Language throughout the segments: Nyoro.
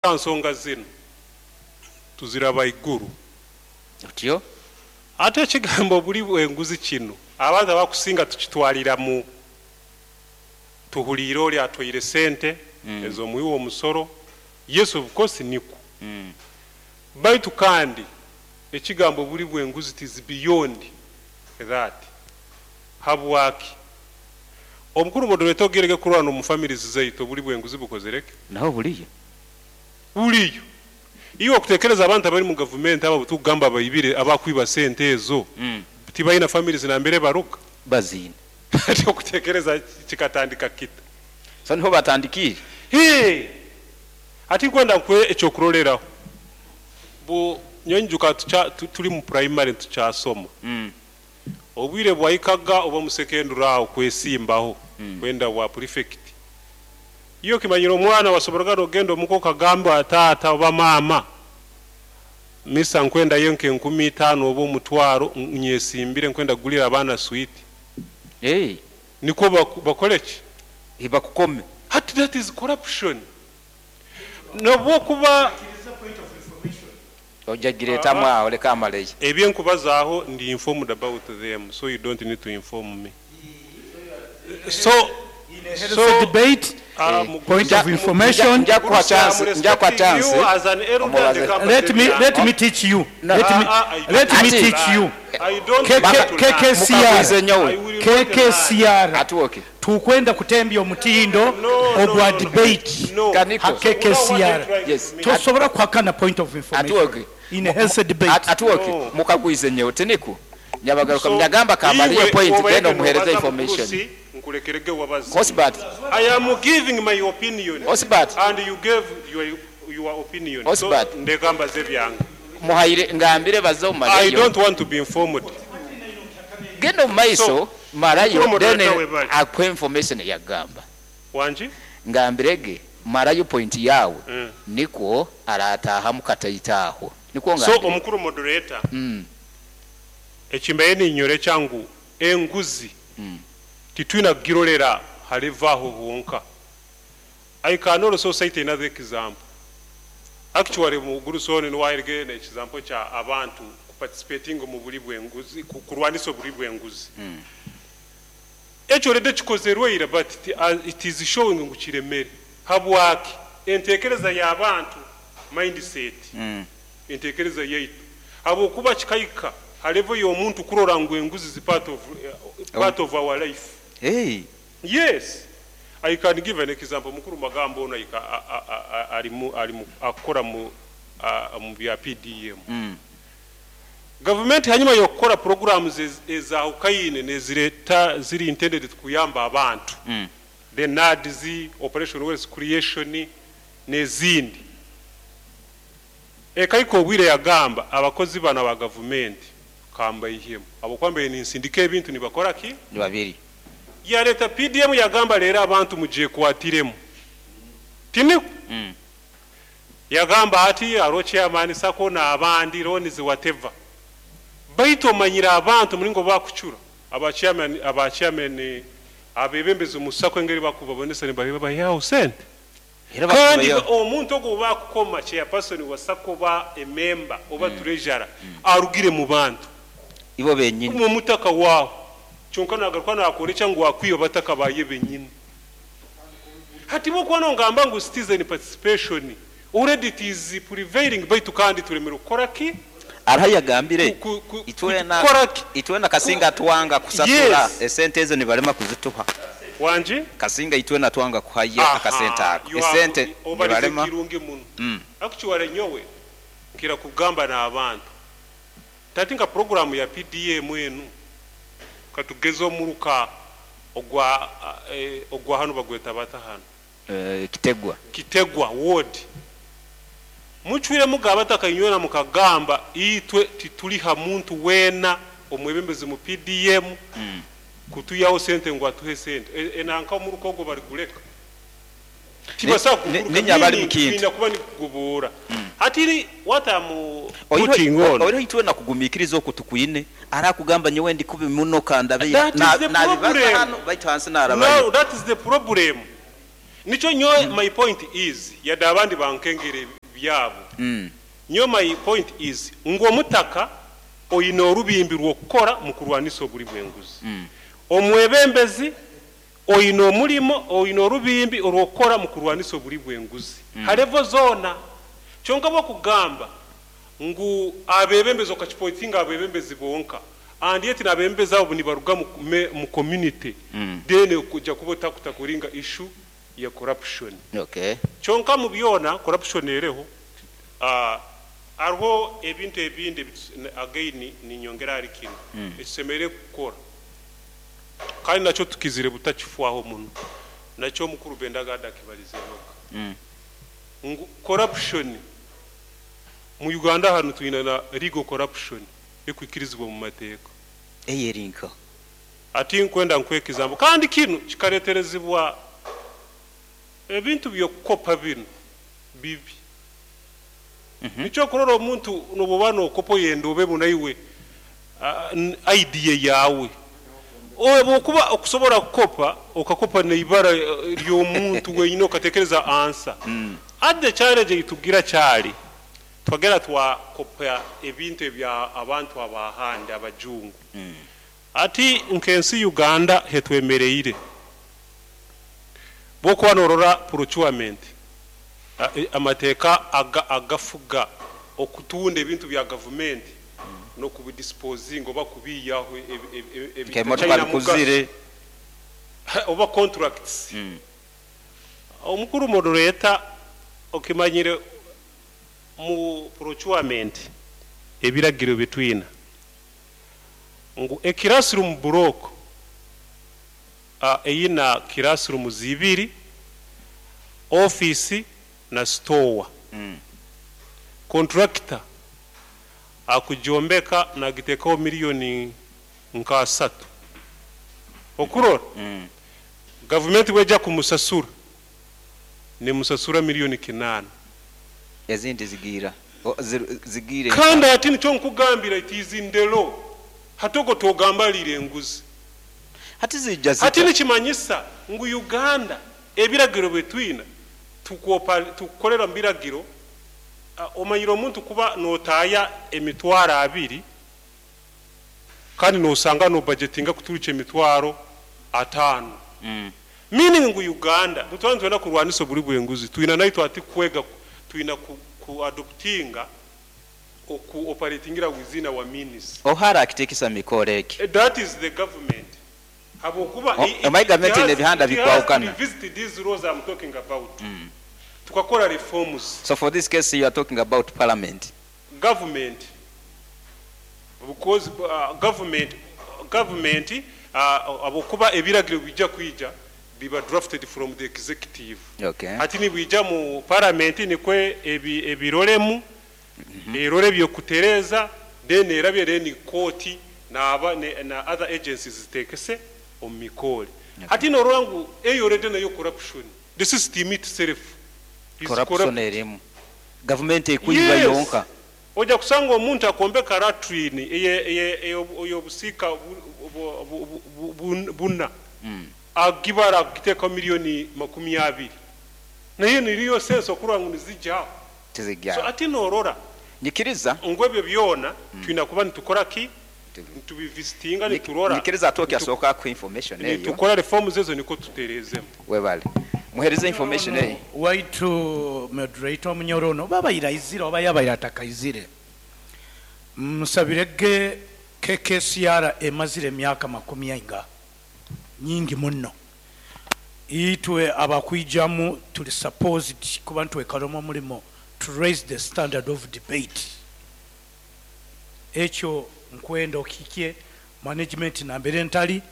Nsonga zinu tuziraba iguru. Otyo? Ate ekigambo obuli bw'enguzi kinu abantu abakusinga tukitwalira mu tuhuliire oli atwaire sente ez'omuwi w'omusoro. Yes, of course nikwo. Baitu kandi ekigambo obuli bw'enguzi it is beyond that. Habwaki? Omukuru moderator, ogerege kurora n'omu families zaitu obuli bw'enguzi bukozere ki? Naho buliyo. Buliyo. Iwe okutekereza abantu abali mu gavumenti abo tukugamba abaibire, abakwiba sente ezo, tibalina families nambere baruga? Baziine. Ati okutekereza kikatandika kita? So niho batandikiire? Hee! Ati nkwenda nkuhe ekyokuroreraho. Bu nyowe nyijuka tuli mu primary tukyasoma. Obwire bwahikaga oba mu secondary aho kwesimbaho kwenda bwa prefect. Iwe okimanyire omwana wasoboraga nogenda omuka okagamba taata oba maama, misa nkwendayo nke 5000 oba 500, nyesimbire nkwenda kugulira abaana sweet. Hey. Nikwo bakole ki? Bakukome. Hati that is corruption. Nobwokuba Ojagiretamu aho, leka amaleyo. Ebyenkubazaaho ndi informed about them, so you don't need to inform me. So In a healthy debate, point of information. Njakuha chance, njakuha chance. You as an elder, Omubaze. Let me teach you. Let me Ati. teach you. I don't KK want to lie. KKCR. Mukaguze nyowe. I will not lie. KKCR. Atuoke. Tukwenda kutembya omutindo No, ogwa no. debate. No. Kaniko. Ha KKCR. Yes. Tosobola kuhakana point of information. Atuoke. In a healthy debate. Atuoke. No. Mukagwize nyowe tiniku. Nyabagaruka So, mnyagamba kamaliye iwe point, obaye then omuhereze nobaza information. Mugurusi, nkulekerege wabaze. Osbert, I am giving my opinion. Osbert. And you gave your opinion. Osbert. So ndeka mbaze byange. Muhaire ngambire baze I omaleyo. don't want to be informed. Genda omu maiso. So, Marayo, mukuru then moderator webale. akuhe information yagamba. Wanji? Ngambirege marayo point yawe. Nikwo aratahamu kataitaaho nikwo. So Ngambire. omukuru moderator, ekimbaye ninyore kyangu enguzi titwina kugirolera halevaho honka. I can also cite another example. Actually mu Gurusoni niwairege ne example kya abantu participating mu buli bw'enguzi, kurwanisa obuli bw'enguzi. Ekyo already kikozerweire, but it is showing ngu kiremere. Habwaki? Entekereza y'abantu, mindset. Entekereza yaitu, habwokuba kikahika ha level y'omuntu kurora ngu enguzi zi part of our life. Hey. Yes, I can give an example. Mukuru magambo ono alimu akora mu bya PDM. Gavumenti hanyuma y'okukora programs ezahukayine nezireta ziri intended kuyamba abantu, the NAADS, Operation Wealth Creation n'ezindi, ekaika obwire yagamba abakozi bano aba gavumenti kambaihemu abokwambaye ninsindika ebintu nibakora ki? Ni babiri. Yaleta PDM, yagamba leero abantu mujekwatiremu, tiniku. Yagamba ati aro chairman SACCO n'abandi loans, whatever, baitu omanyire abantu mulingo bakucura aba chairman abebembezi mu SACCO, engeri bakubabonesa nibabayawo sente. Era Kandi bakubayo. omuntu ogwo bakukoma chairperson wa SACCO ba emember oba treasurer arugire mu bantu. Ibo benyini. Mu mutaka waawo, kyonka nagaruka nakorekya ngu wakwiba bataka baye benyini. Hati bwokuba ngamba ngu citizen participation already it is prevailing, baitu kandi turemere kukora ki? Araho yagambire itwena Kukora ki? Itwena Kasinga twanga kusasura esente ezo, nibalema kuzituha. Wanji? Kasinga itwena twanga kuhaya akasente ako, esente Obalize nibalema. kirungi muno. Actually nyowe nkira kugamba n'abantu tati nka programu ya PDM enu, katugeze omuruka ogwa hano bagweta bata hano? Kitegwa. Kitegwa ward, mucwire mugaba takanywera mukagamba itwe tituliha muntu wena omwebembezi mu PDM kutuyaho sente ngu atuhe sente. Enanka omuruka ogwo bali guleka. Tibasa Ninya bali mu kintu. Kulinda kuba nikugubura. Hatiri what I'm putting on. Oiro itwena kugumikiriza okwo tukwine arakugamba nyowe ndi kubi muno kandabe. That is the problem. Hano baitu hansi narabayo. No, that is the problem. Nikyo nyowe my point is, yadde abandi bankengere byabo, nyowe my point is ngu omutaka oyina orubimbi rw'okukora mu kurwanisa obuli bw'enguzi. Omwebembezi oyina omulimo, oyina orubimbi orw'okukora mu kurwanisa obuli bw'enguzi ha level zoona. Kyonka bwokugamba ngu abebembezi, okakipointinga abebembezi bonka, and yet n'abebembezi abo nibaruga mu community, then kujja kuba otakutakuringa issue ya corruption. Kyonka mu byona corruption ereho, hariho ebintu ebindi again ninyongera ahari kinu ekisemeriire kukora, kandi nakyo tukizire butakifwaho muno, nakyo omukuru Bendagada akibalizehoga, ngu corruption mu Uganda hanu twina na legal corruption ekwikirizibwa mu mateeka. Eyerinka? Ati nkwenda nkwekizambo, kandi kinu kikareterezibwa ebintu by'okukopa binu bibi. Nikyo kurora omuntu nobuba nokopa oyenda obe munaiwe idea yawe, bwokuba okusobola kukopa, okakopa neibara ly'omuntu wenyine, okatekereza ansa. Ate challenge eitugira kyali twagera twakopa ebintu ebya abantu abahandi, abajungu. Ati nkensi Uganda hetwemereire, bwokuba norora procurement, amateeka agafuga okutunda ebintu bya gavumenti n'okubidisposinga oba kubiyaho Nk'emotoka ebitakyalina mugaso. Bikuzire. Oba contracts. Omukuru moderator, okimanyire mu procurement ebiragiro bitwina ngu eclassroom block eyina classroom zibiri, office na store, contractor akujombeka nagitekaho miliyoni nka 3, okurora gavumenti bwejja kumusasura, nemusasura miliyoni 8. Ezindi zigira zigiire. Kandi ati nikyo nkugambira, it is in the law. Hatogo togambalire enguzi. Hati zijja hati zita? Nikimanyisa ngu Uganda ebiragiro byetwina tukukolera mu biragiro. Omanyire omuntu kuba notaaya 20,000 kandi nosanga no budgetinga kuturukya 50,000, meaning ngu Uganda butwara nitwenda kurwanisa obuli bw'enguzi, twina naitwe ati kwega, twina ku adoptinga oku operatingira within our means. Ohara akitekesa mikoro eki? That is the government, habwokuba Omanyi gavumenti n'ebihanda it has to bikwawukana. revisit these laws I'm talking about, tukakora reforms. So for this case you are talking about parliament? Government, because government abokuba ebiragiro bijja kwija biba drafted from the executive. Ati nibwija mu parliament nikwe ebiroremu, erore byokutereza, then erabye, then kooti naba na other agencies zitekese omu mikore. Hati norora ngu eyo already nayo corruption, the system itself is corruption. Corrupt. Erimu gavumenti ekuyiba Yes. yonka. Ojja kusanga omuntu akombeka latrine ey'obusiika buna, agibara agiteekaho miliyoni 20, naye niriyo sense okurora ngu nizijjaho? Tizijja. So ati norora Nyikiriza. ngu ebyo byona tulina kuba nitukora ki, nitubivisitinga, niturora. Nyikiriza atoki asooka ku information eyo. Nitukora reforms ezo niko tuterezemu. Webale muhereze information eyo. Waitu moderator omunyoro ono oba bayiraizire oba yabaire atakaizire, musabirege KKCR emazire emyaka 40, nyingi muno. Itwe abakwijamu tuli supposed kuba ntwekalemu omulimo to raise the standard of debate. Ekyo nkwenda okikye management nambere ntali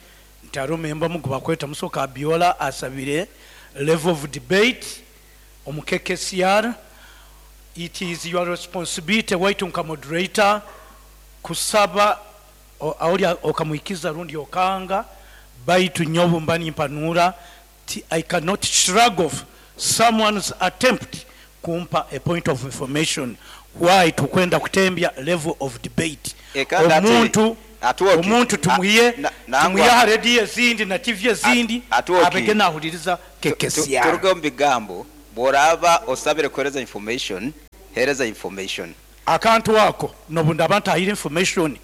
nti ari omemba mugu bakweta Musoka Abiola asabire level of debate omu KKCR. It is your responsibility waitu nka moderator kusaba aoli okamwikiza rundi okanga, baitu nyobo mba nimpanura ti I cannot shrug off someone's attempt Kumpa a point of information why tukwenda kutembya level of debate. Kandi ate- Omuntu Atwoki. omuntu tumuye Nangwa. tumuye aha rediyo ezindi na TV ezindi, Atwoki. abege nahuliriza KKCR. Turuge omu bigambo. Bw'oraaba osabire kuhereza information, hereza information. Akantu ako nobu ndaba ntahire information,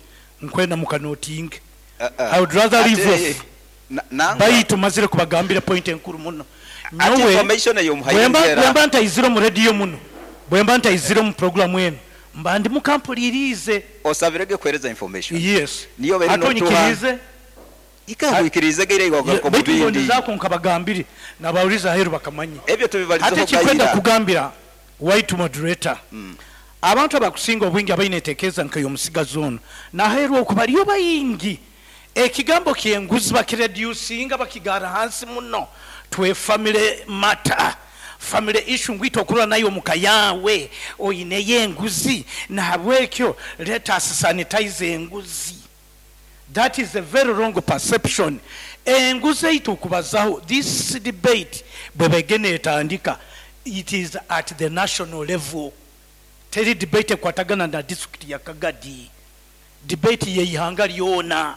nkwenda mukanotinge. Uh-uh. I would rather leave Ate- off. Nangwa. Baitu mazire kubagambira point enkuru muno. Ate Nyowe information eyo bwemba muhaire. Bwemba ntayizire mu rediyo muno, bwemba ntayizire mu programu eno, mba ndi mukampulirize. Osabirege kuhereza information. Yes. Niyo beri Ate notuha. onyikirize. Ikangwikirize geire igwagaruka mu Baitu bindi. ngondizaako nkabagambire nabawuliza aheru bakamanye. Ebyo tubibalizeho Ate kikwenda gayira. kugambira white moderator, abantu abakusinga obwingi abaine entekeeza nk'ey'omusigazi ono naheerwa oku bariyo bayingi, ekigambo kyenguzi bakireducinga bakigara hansi muno. Twe family matter, family issue, ngwita okurora nayo omuka yawe oyineyo enguzi, nahabwekyo let us sanitize enguzi. That is a very wrong perception. Enguzi eitu okubazaho, this debate bwe begene etandika, it is at the national level. Teri debate ekwatagana na district ya Kagadi. Debate yeihanga lyona,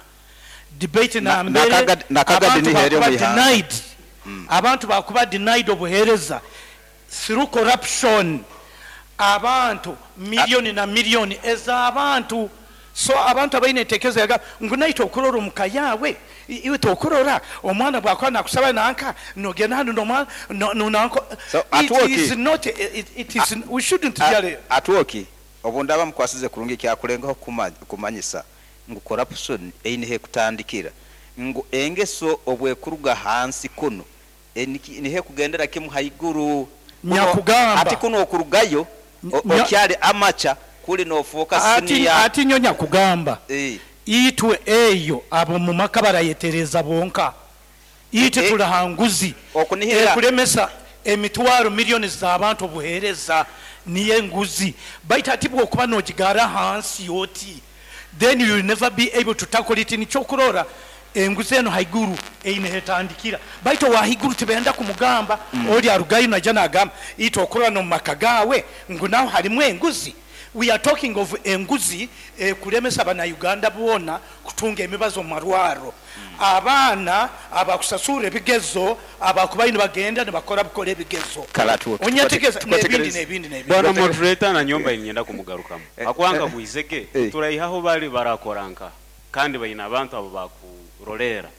debate nambere Na Kagadi abantu ni heri bakuba omu ihanga. denied, abantu bakuba denied obuheereza through corruption, abantu miliyoni na miliyoni ez'abantu. So abantu abaine entekereza yaga ngu naite okurora omuka yawe, iwe tokurora omwana bwakuba nakusaba nanka nogenda hanu nomwana nonanko. So, It atwoki. is not it is, we shouldn't really. Atwoki, obu ndaba mukwasize kurungi, kyakulengaho kumanyisa ngu corruption eine kutandikira ngu engeso obwekuruga hansi kuno nihe kugendera kimu haiguru. Nyakugamba. Ati kuno okurugayo okyali amacha kuli nofuuka senior. Ati nyo nyakugamba, itwe eyo abo mu maka barayetereza bonka, itwe tulahanguzi Okunihira. Ekulemesa emitwaro miliyoni z'abantu obuheereza niyo enguzi. Baitu ati bwokuba nogigara hansi yoti, then you will never be able to tackle it. Nikyokurora enguzi eno haiguru eine hetandikira, baitu wahaiguru tibenda kumugamba. Oli arugayo naija nagamba itwe okurora nomu maka gawe ngu naho harimu enguzi. We are talking of enguzi kulemesa abanauganda boona kutunga emibazo mu marwaro, abaana abakusasura ebigezo abakubayo nibagenda nibakora bukora ebigezo. Kale atuwe- Onyategeeza tukwategereze. n'ebindi n'ebindi n'ebindi. Bwana moderator, na nyomba inyenda kumugarukamu akwanga gwizege. Turaihaho bali barakoranka kandi baina abantu abo bakurolera.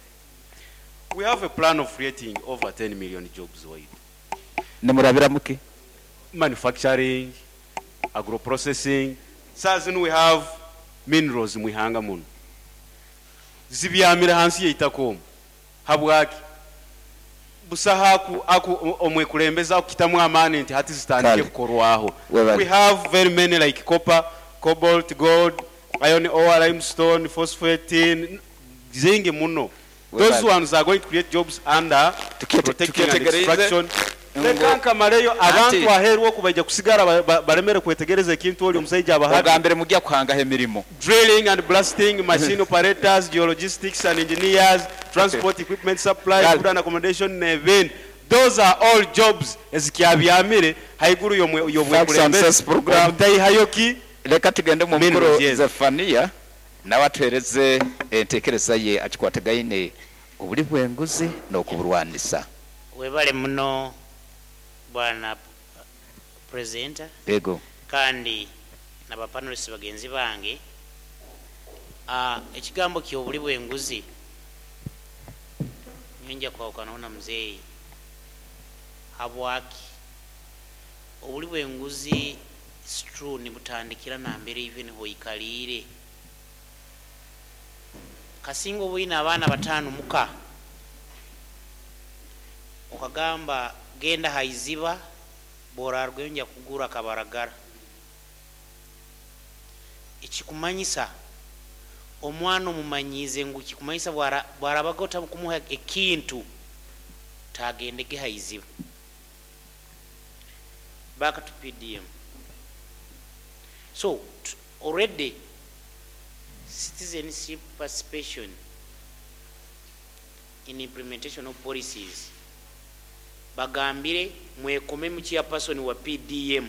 We have a plan of creating over 10 million jobs wide. Nimurabira muki? Manufacturing, agroprocessing. Saa zino we have minerals mwihanga muno zibyamire hansi yeitaka omwo. Habwaki busaha aku omwekulembeza akukitamu amaani nti hati zitandike Kale. kukorwaho. Webale. We have very many, like copper, cobalt, gold, iron ore, limestone, phosphate, tin, zingi muno. Those Webale. ones are going to create jobs under protecting and Tukyetegereze extraction. Ngo- Leka nkamaleyo. Ati- Abantu aheeru oku baija kusigara balemere kwetegereza ekintu oli omusaija abahabi. Ogambire mujja kuhangaho emirimu. Drilling and blasting machine operators, geologistics and engineers, transport equipment supply, Kale. food and accommodation n'ebindi. Those are all jobs ezikyabyamire haiguru Facts and Sense program. y'obwekulembeze ki. Leka tugende mu mukuru Minerals, yes. Zefaniya nawe atuhereze entekereza ye akikwatagaine obuli bw'enguzi n'okuburwanisa. Webale muno, bwana presenter. Ego. Kandi nabapanelist bagenzi bange. Ekigambo kyobuli bw'enguzi nyonja kwawukanaho na muzeeyi. Habwaki obuli bw'enguzi is true, nibutandikira nambere even hoikaliire. Kasinga obuyina abaana bataano muka, okagamba genda haiziba bworarweyo nja kugura kabaragara. Ekikumanyisa omwana omumanyiize ngu kikumanyisa bwarabaga otabukumuha ekintu tagendege haiziba. Back to PDM. So already citizenship participation in implementation of policies. Bagambire mwekomemu chairperson wa PDM.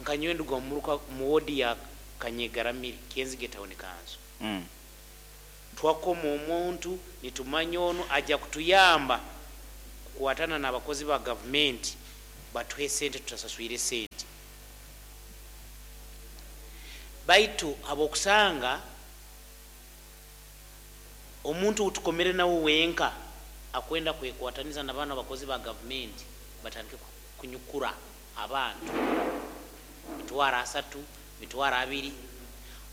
Nkanyowe nduga omuruka mu wodi ya Kanyegaramire, Kyenzige Town Council. Twakoma omuntu nitumanya ono ajja kutuyamba kukwatana n'abakozi ba gavumenti batuhe sente, tutasaswire sente. Baitu abokusanga omuntu utukomere nawe wenka akwenda kwekwataniza n'abaana abakozi ba gavumenti batandike kunyukura abantu 30,000, 20,000.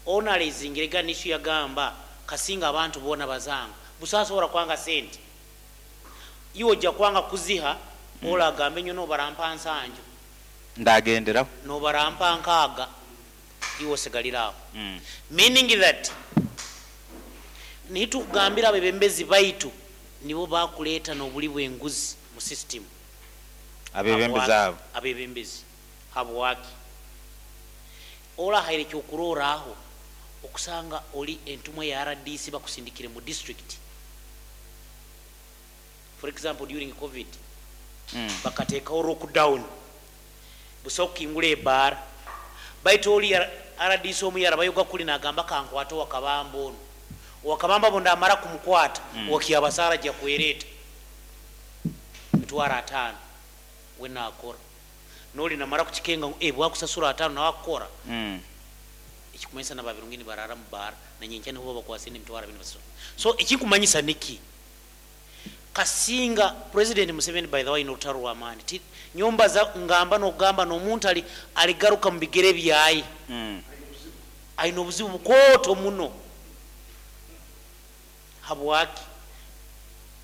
Ono alizingirega nishu yagamba kasinga abantu bona bazanga busasobora kwanga sente, iwe ojja kwanga kuziha. Ola agambe nyo nobarampa nsanju, Ndagenderaho. Nobarampa nkaaga, iwe osigaliraho. Meaning that nitukugambira abebembezi baitu nibo bakuleeta n'obuli bw'enguzi mu system. Abebembezi abo. Abebembezi habwaki olahaire kyokuroraaho okusanga oli entumwa ya RDC bakusindikire mu district, for example during COVID, bakateekawo lockdown, busa okukingula ebaara, baitu oli RDC omu yarabayoga kuli nagamba kankwate owakabamba ono, owakabamba bo ndamara kumukwata, wakiabasaara ajja kwereeta 50,000 we nakora, noli namara kukikenga ngu, bwakusasura 50 nawe akukora. Ekikumanyisa nababirungi nibarara mu baara nanyenkya niho babakwasire 20,000 basasura. So ekikumanyisa niki, kasinga President Museveni, by the way, n'olutalo lw'amaani. Nyomba za ngamba n'okugamba n'omuntu aligaruka mu bigere byaye, alina obuzibu bukooto muno. Habwaki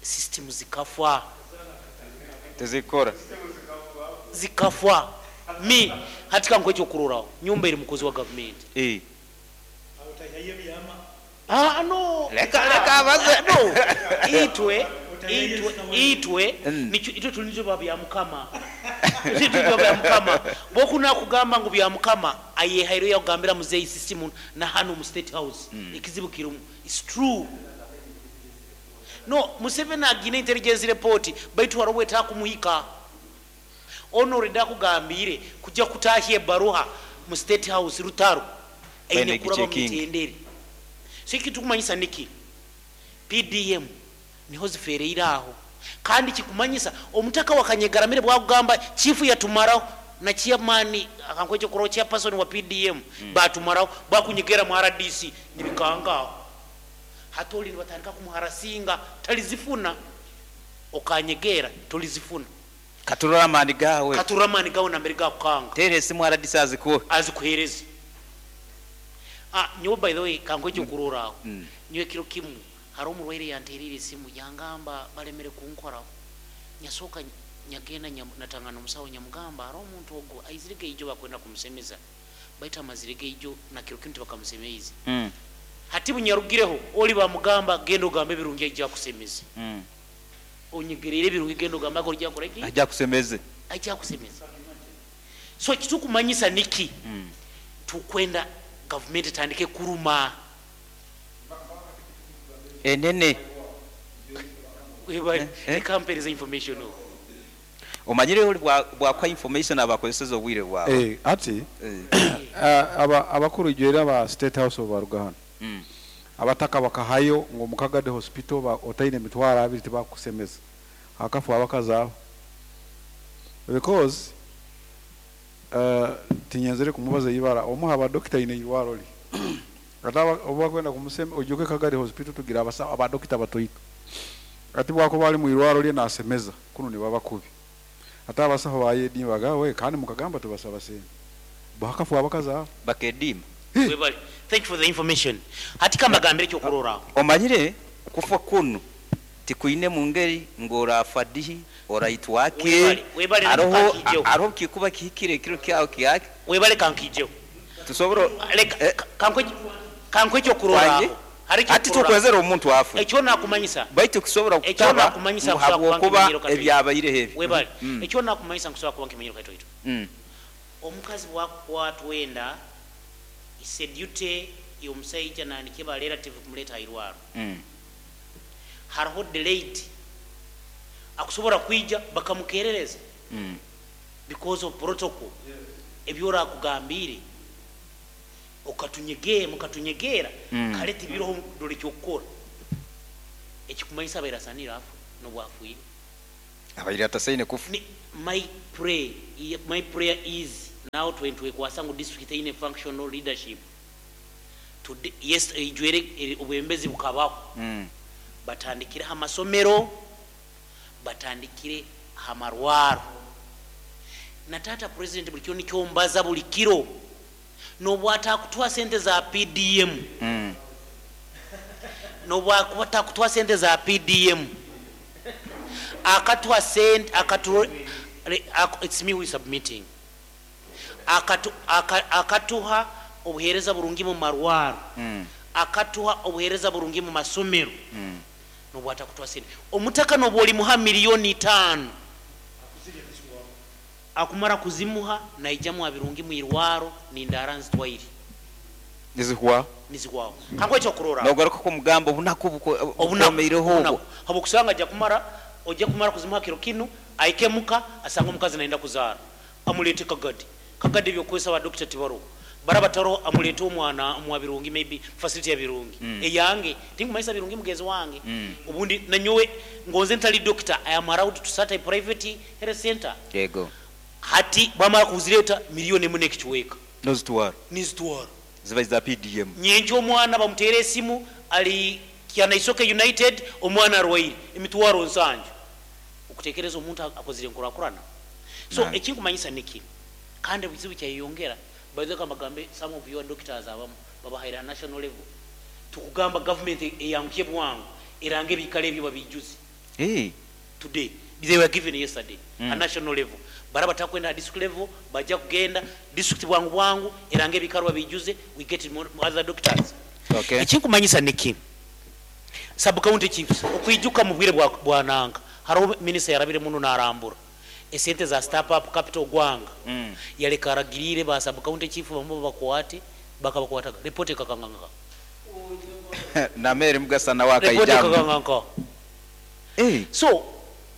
system zikafa? Tezikora. Zikafa. Mi hatika nkwecho okuroraaho nyumba eri mukozi wa gavumenti. Ah, no. Leka abaze. Ah, no, itwe nicho itwe tulinzo bya bya mukama, itwe tulinzo bya mukama bokuna kugamba ngu bya mukama ayehairo yakugambira muzeyi system na hano mu State House. Ekizibu kirumu, it's true. No Museveni agina intelligence report, baitu hariho kumuhika ono orida kugambire kujja kutahya ebaruha mu State House rutaro aine Baine kuraba mu gichecking. mitendere. So ekitu kumanyisa niki, PDM niho zifereire aho, kandi kikumanyisa omutaka wa Kanyegaramire bwakugamba chifu yatumaraho na chairman akankwecho kuro chairperson wa PDM, batumaraho bakunyegera mu RDC nibikangaho hatoli nibatandika kumuharasinga talizifuna, okanyegera tolizifuna. Katurora amani gawe. Katurora amani gawe nambere gakukanga. Tere esimu RDC azikuwe. Azikuhereza. Ah, nyowe by the way kankwecho kuroraho, nyowe kiro kimu hari omurwaire yanterire esimu yangamba balemere kunkoraho, nyasooka nyagenda natangana omusawo, nyamugamba hari omuntu ogwo aizirege ijo bakwenda kumusemeza, baitu amazirege ijo na kiro kimu tibakamusemeize. Hati bunyarugireho oli bamugamba genda ogambe ebirungi aija kusemeza. Onyegerere ebirungi, genda ogambe ako ojja kukora ki? Ajja kusemeze. Ajja kusemeza. So kitukumanyisa niki, tukwenda gavumenti etandike kuruma. Enene. Reka mpereza information o. Omanyire oli bwakwa information abakozeseza obwire bwawe. Ati abakuru ijwera ba State House baruga hano, abataka bakahayo ngo mukagade hospital otaine 20,000 tibakusemeza, akafu abakazi abo because tinyenzere kumubaza ibara omuha abadokita ine irwaro li ate oba kwenda kumusema ojuke Kagadi Hospital tugira abasa abadokita batoito, ati bwako bali mu irwaro lye nasemeza kuno ni baba kubi, ate abasaho bayedimbaga we kandi mukagamba tubasaba sente bakafu abakazi abo. Bakedima. Webale. Thank you for the information. Hati kambagambire ekyokuroraho. Omanyire kufa kuno tikuine mu ngeri ng'orafa dihi oraitwake. Webale, webale. Aroho. Namukankijeho. Aroho kikuba kihikire ekiro kyawe kyake. Webale, kankijeho. Tusobora. Leka kankwe ekyokuroraho. Wanje? Hari Ati ekyokuroraho. tukwezera omuntu afe. Ekyo nakumanyisa. Baitu kusobora Ekyo kutaba nakumanyisa ngu kusobola kuba habwokuba nkimanyiro katoito. ebyabaireho ebyo. Webale. Ekyo nakumanyisa nkusobola kuba nkimanyiro katoito. Omukazi bwakwatwenda isedyute y'omusaija nandike ba relative kumuleeta airwaro, hariho delayed. Akusobora kwija bakamukerereza because of protocol. Ebyorakugambire okatunyegera mukatunyegera kale tibiroho dole kyokukora ekikumanyisa abaire asanire afu nobwafwire. Abaire atasaine kufa. My prayer is now 20 ngu district eine functional leadership today. Yes, ijwere obwembezi bukabaho. Batandikire amasomero, batandikire amarwaro. Na tata president buli kiro nikyo mbaza buli kiro, nobwatakutwa sente za PDM, nobwatakutwa sente za PDM, akatwa sente akatu, it's me who is submitting, akatuha obuhereza burungi mu marwaro, akatuha obuhereza burungi mu masomero. Nobwatakutwa sente omutaka nobwoli muha 5 million akumara kuzimuha naijamu abirungi mwirwaro nindara nzitwaire. Nizihwa. Nizihwaho. Kanko ekyo kurora. Nogaruka ku mugambo obunaku bukomeireho obwo. Habwokusanga ajja kumara, ojja kumara kuzimuha kiro kinu, aikemuka asanga omukazi naenda kuzaara, amulete Kagadi. Kagadi ebyokukozesa ba dokita tibaroho, bara bataro, amulete omwana omwa Birungi, maybe facility ya Birungi. Eyange tinkumanyisa Birungi mugenzi wange. Obundi nanyowe ngonze ntali doctor, I am allowed to start a private health center. Yego. Hati bamara kuzileta 1 n'ekichweka. Nozitwara. Nizitwara. Ziba za PDM. Nyenje omwana bamutere esimu ali Kyanaisoke United, omwana arwaire, 70,000. Okutekereza omuntu akozire nkurakurana. So ekinkumanyisa niki, kandi ebizibu kyayeyongera. By the way, kamagambe, some of your doctors abamu babahaira national level. Tukugamba government eyanguye bwangu erange ebikalo ebyo babijuze. Hey. Today they were given yesterday a national level. Bara batakwenda district level, bajja kugenda district bwangu bwangu erange ebikalo babijuze, we get more other doctors. Ekinkumanyisa niki, sub county chiefs okwijuka mu bwire bwa nanga hariho minisita yarabire muno narambura esente za step up capital gwanga. Yaleka aragirire ba sub county chief bamwe bakwate, bakabakwataga, report ekakanganga. Namere mugasa nawe report akaijamu. Ekakanganga. Hey. So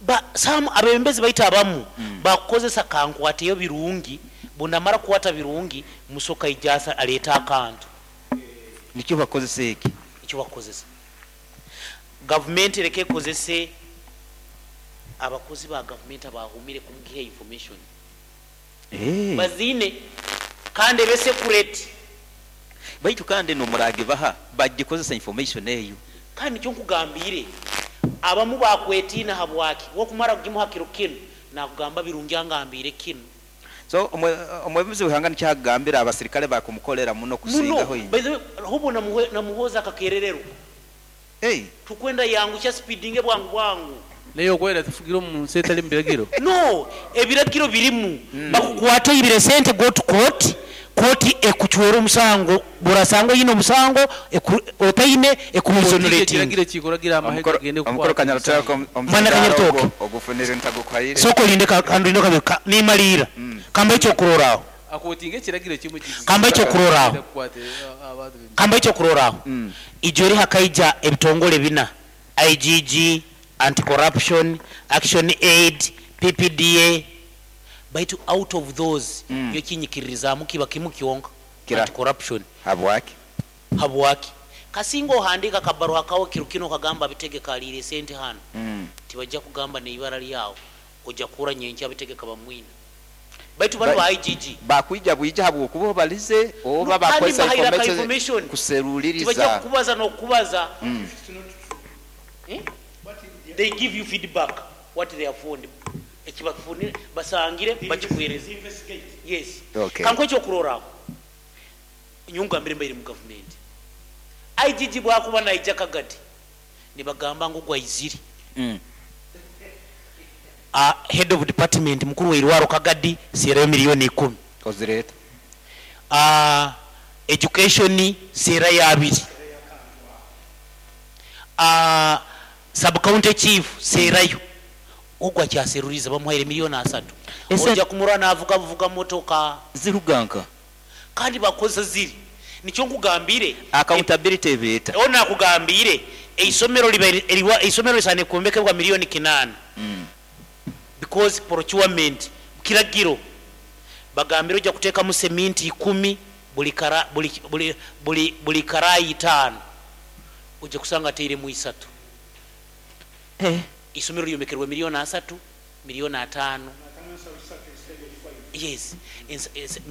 ba some abembezi baita abamu bakukozesa kankwateyo Birungi, bundamara kukwata Birungi musoka ijasa aleta akantu. Nikyo bakozesa eki. Ekyo bakozesa gavumenti ereke ekozese abakozi ba gavumenti abahumire kumugiha information. Hey. Bazine kandi ebe secret. Baitu kandi nomurage baha bagikozesa information eyo. Kandi nikyo nkugambire, abamu bakwetiina habwaki wokumara kugimuha kiro kinu nakugamba Birungi angambire kinu. So omwebembezi w'ihanga nikyagambira abasirikale bakumukolera muno muno kusingaho By the way, hubo namuhoza akakerererwa. Hey. Tukwenda yangusha speedinge bwangu bwangu. Naye okwera tufugira omu nsi etali mu biragiro. No, ebiragiro birimu. Bakukwata oyibire sente, go to court, court ekuchwera omusango, burasanga oyine omusango, otaine ekuexonerating. Ekiragiro kikuragira amahe gagende Omukoro kukwata Kanyarutaka. Mwana Kanyarutaka. Ogufunire ntagukwayire. Soko linde kandinde nimalira kamba ekyokuroraho. Akotinga ekiragiro kimu. Kamba ekyokuroraho. Kukwata abantu. Kamba ekyokuroraho, ijo eri hakaija ebitongole bina: IGG, anti-corruption, Action Aid, PPDA. Baitu out of those, yo kinyikiririzaamu kiba kimu kyonka. Kira. Anti-corruption. Habwaki? Habwaki? Kasinga ohandika kabaruha kawe kiro kino kagamba abitegeka aliire sente hano, tibajja kugamba neibara lyawo, ojja kura nyenkya abitegeka bamwina. Baitu bano ba IGG Bakwija bwija habwokuba obalize oba No, kandi bakozesa bahayira ka information information. Tibajja kuseruliriza. kukubaza n'okukubaza. Eh? They give you feedback what they have found, ekibafunire basangire bakikuhereza, yes. Okay. Kanko ekyokuroraho, nyungambire mbaire mu gavumenti, IGG bwakuba naija Kagadi nibagamba ngu gwaizire, head of department, mukuru weirwaro Kagadi, serayo 10 million. Ozireta. Education serayo 2, sub county chief serayo. Ogwo akyaseruriza bamuhaire 30 million. Ojja kumurwa navuga buvuga motoka. Ziruganka. Kandi bakozesa ziri, nikyo nkugambire. Accountability ebeeta. O nakugambire Eisomero liba eisomero lisane kwombekebwa 8 miliyoni, because procurement kiragiro bagambire ojja kuteekamu seminti 10 buli kara, buli, buli, buli, buli karayi 5, ojja kusanga ateiremu 3. Isomero lyombekerwa 30 miliyoni, 50 miliyoni, yes.